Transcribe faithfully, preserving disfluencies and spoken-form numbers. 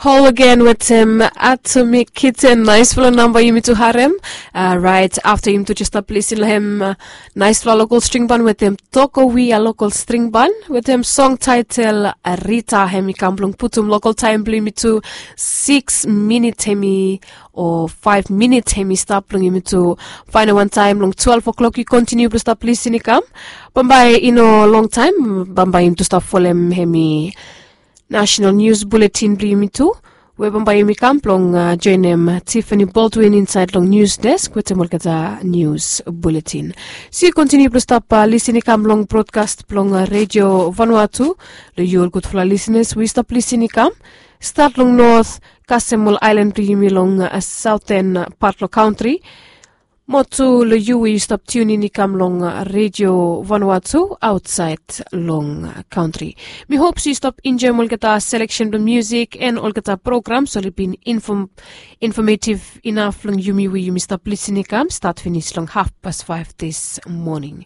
Hol agen wetem Atomic Kitten, naispela namba yumi tu harem. Rait afta yumi tu jes stap lisin long hem naispela lokal string ban wetem Tokowi a lokal string ban wetem song taitel Rita. Hem i kam blong putum lokal taim blong yumi tu siks minit hem i o faiv minit hem i stap blong yumi tu fainal wantaim long twelve o'clock i kontiniu blong stap lisin i kam. Bambae i no longtaim bambae yumi tu stap folem hem i national news bulletin blong yumi tu, we bambae yumi kam blong joinim Tiffany Baldwin insaed long news desk wetem olgeta news bulletin. So yu kontiniu blong stap lisin i kam long brodkast blong redio Vanuatu. Long yu ol gudfala lisinas we yu stap lisin i kam stat long not kasem ol ailan blong yumi long saoten pat long kantri. Mo tu long yu we yu stap tiunin i kam long redio Vanuatu aotsaed long kantri. Mi hop se yu stap enjoim olgeta seleksen blong musik en olgeta programs oli bin infometiv inaf long yumi we yumi stap lisin i kam stat finis long hafpas faiv dis moning.